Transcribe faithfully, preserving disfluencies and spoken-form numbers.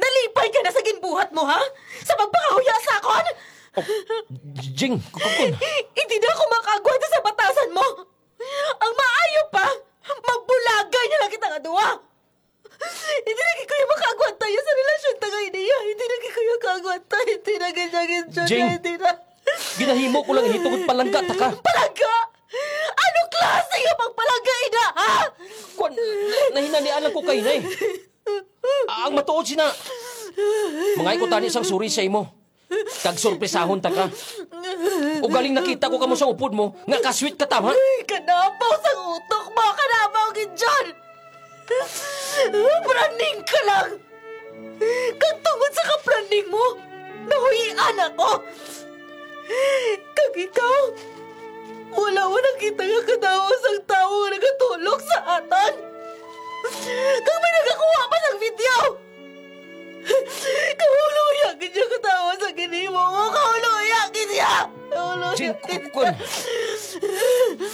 Nalipay ka na sa ginbuhat mo, ha? Sa pagpangahuya sa akon? Oh, Jing, kukukon. Hindi na ako makaagwanta sa batasan mo. Ang maayo pa, magbulagay na lang kita nga duwa. Hindi na gid ko makaagwanta ya sa relasyon ta kay niya. Hindi na gid ko kaagwanta. Hindi na gid siya gid siya. Jing, Hindi na. Ginahimo ko lang ini tungod palangga ta ka. Palangga? Ano klase nga pagpalangga ina, ha? Kwan, nahinalian lang ko kay, nay. Ang matuod sina, mga ko tani sang suri sa imo. Kag sorpresahon ta ka. Ugaling nakita ko kamo sa upod mo, nga kasweet ka tama. Ay, kanabaw sa utok mo, kanabaw gid dyan. Praning ka lang. Kag tungod sa kapraning mo, nahuyian ako. Kag ikaw, wala mo nakita nga kadawa sang tawo nga nagatulog sa atan. Kag may nagakuha pa sang video. Kahuluya gid siya katawa sa ginimo mo. Kahuluya gid siya. Kahuluya Jing, gid kukon.